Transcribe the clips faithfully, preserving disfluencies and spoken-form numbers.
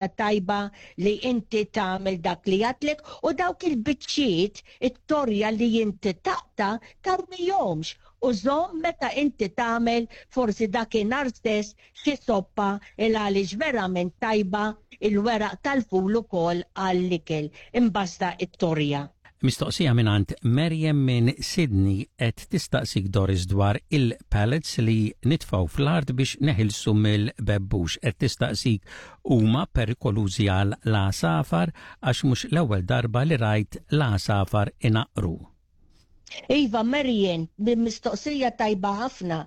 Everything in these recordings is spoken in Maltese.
Tajba li inti tagħmel dak li għedtlek u dawk il-biċċiet, it-torja li inti taqta', tarmihomx u żomm meta inti tagħmel forsi dakinhar stess xi soppa, il għaliex verament tajba il-weraq tal-ful ukoll għall-ikel imbasta it-torja. Mistoqsija mingħand Merjem minn Sydney, qed tistaqsik, Doris, dwar il-pellets li nitfaw fl-art biex neħilsu mill-bebbux. Qed tistaqsik huma perikolużi għal l-għasafar, għax mhux l-ewwel darba li rajt l-għasafar inaqru. Iva, Marian, mistoqsija tajba ħafna.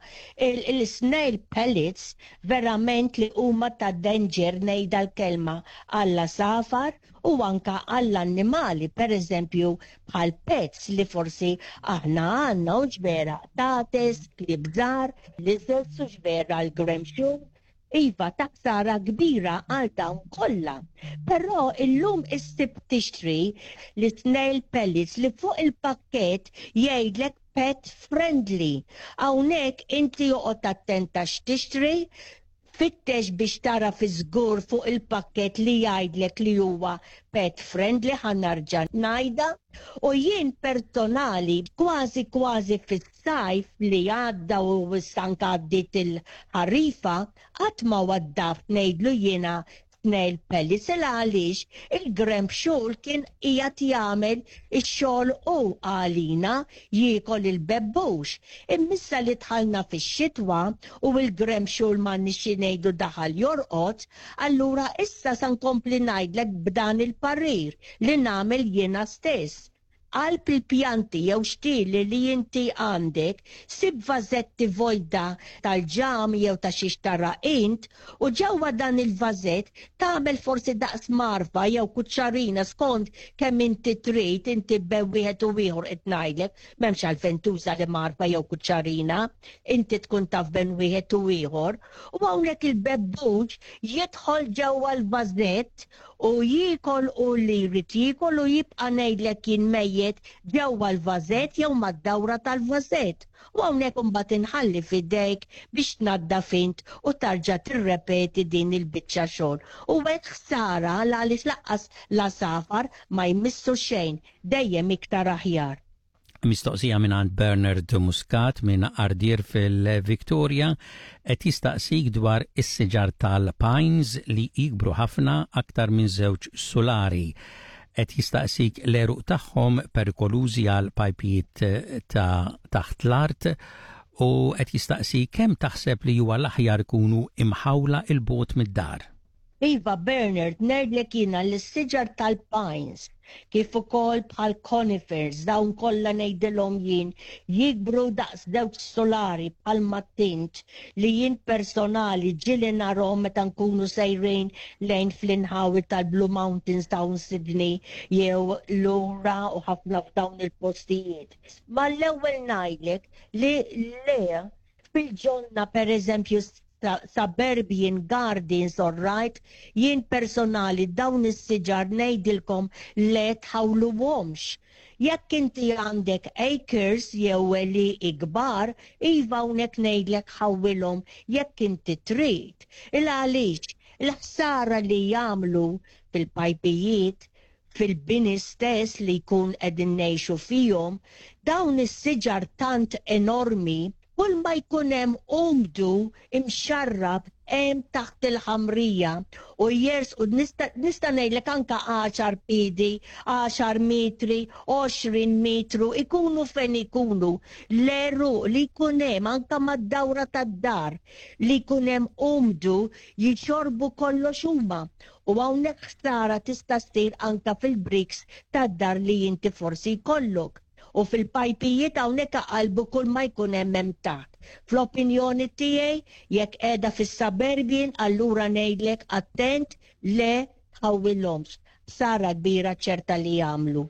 Il-snail pellets verament li huma ta' danger, ngħidha l-kelma, għall-għasafar u anka għall-annimali, per eżempju bħal pets li forsi aħna għandna, u ġvera qtates, klieb żgħar, lizards u ġvera l-gremxul. Iva, ta' ħsara kbira għal dawn kollha. Però illum issib tixtri li snail pellets li fuq il-pakket jgħidlek "pet friendly". Hawnhekk inti joqgħod attenta x'tixtri, fittex biex tara fi żgur fuq il-pakket li jgħidlek li huwa pet friendly, ħa nerġa' ngħidha. U jien personali kważi kważi fis-sajf li għadda u anka għaddiet il-ħarifa qatt ma waddaft, ngħidlu jiena, snail pellets, il għaliex il-gremxul kien qiegħed jagħmel ix-xogħol u għalina jiekol il-bebbux. Imma issa li dħalna fix-xitwa u il-gremxul, ma nixi ngħidu, daħal jorqod, allura issa sa nkompli ngħidlek b'dan il-parir li nagħmel jiena stess. Qalb il-pjanti jew xtieli li inti għandek, sib vażetti vojta tal-ġam jew ta' xiex tara int u ġewwa dan il-vażett tagħmel forsi daqs mgħarfa jew kuċċarina, skont kemm inti trid inti, bejn wieħed u ieħor qed ngħidlek, m'hemmx għalfejn tuża li mgħarfa jew kuċċarina, inti tkun taf bejn wieħed u ieħor. U hawnhekk il-bebbux jidħol ġewwa l-vażett u jiekol u li jrid jiekol u jibqa', ngħidlek jien, mejjet ġewwa l-vażett jew mad-dawra tal-vażett. U hawnhekk imbagħad inħalli f'idejk biex tnaddaf int u tarġa' tirrepeti din il-biċċa xogħol. U hekk ħsara għaliex lanqas l-għasafar ma jmissu xejn, dejjem iktar aħjar. Mistoqsija minn Bernard Muscat minn Ardeer fil-Victoria, qed jistaqsik dwar is-siġar tal-pines li jikbru ħafna, aktar minn żewġ sulari. Qed jistaqsik l-għeruq tagħhom perikolużi għal pajpijiet ta' taħt l-art u qed jistaqsi kemm taħseb li huwa l-aħjar ikunu imħawla 'il bogħod mid-dar. Iva, Bernard, ngħidlek jiena l-siġar tal-pines, kif ukoll bħal conifers, dawn kollha, ngħidilhom jien, jikbru daqs żewġ solari bħal mattint li jien personali ġieli narhom meta nkunu sejrin lejn fl-inħawi tal-Blue Mountains ta' Sydney jew lura u ħafna f'dawn il-postijiet. Ma l-ewwel ngħidlek li le, fil-ġonna, per eżempju, suburban gardens, all right, jien personali dawn is-siġar ngħidilkom le, tħawluhomx. Jekk inti għandek acres jew li ikbar, iva, hawnhekk ngħidlek ħawwilhom jekk inti trid. Il għaliex il-ħsara li jagħmlu fil-pajpijiet, fil-bini stess li jkun qegħdin ngħixu fihom, dawn is-siġar tant enormi, kull ma jkun hemm umdu imxarrab hemm taħt il-ħamrija u jers u nista' ngħidlek anka għaxar piedi, għaxar metri, għoxrin metru, ikunu fejn ikunu, l-għeruq li jkun hemm anka mad-dawra tad-dar li jkun hemm umdu jixorbu kollox huma. U hawnhekk ħsara tista' ssir anka fil-bricks tad-dar li inti forsi jkollok u fil-pajpijiet. Hawnhekk qalbu kull ma jkun hemm hemm taħt. Fl-opinjoni tiegħi, jekk qiegħda fis-suburban, allura ngħidlek attent, le tħawwilhomx. Ħsara kbira ċerta li jagħmlu.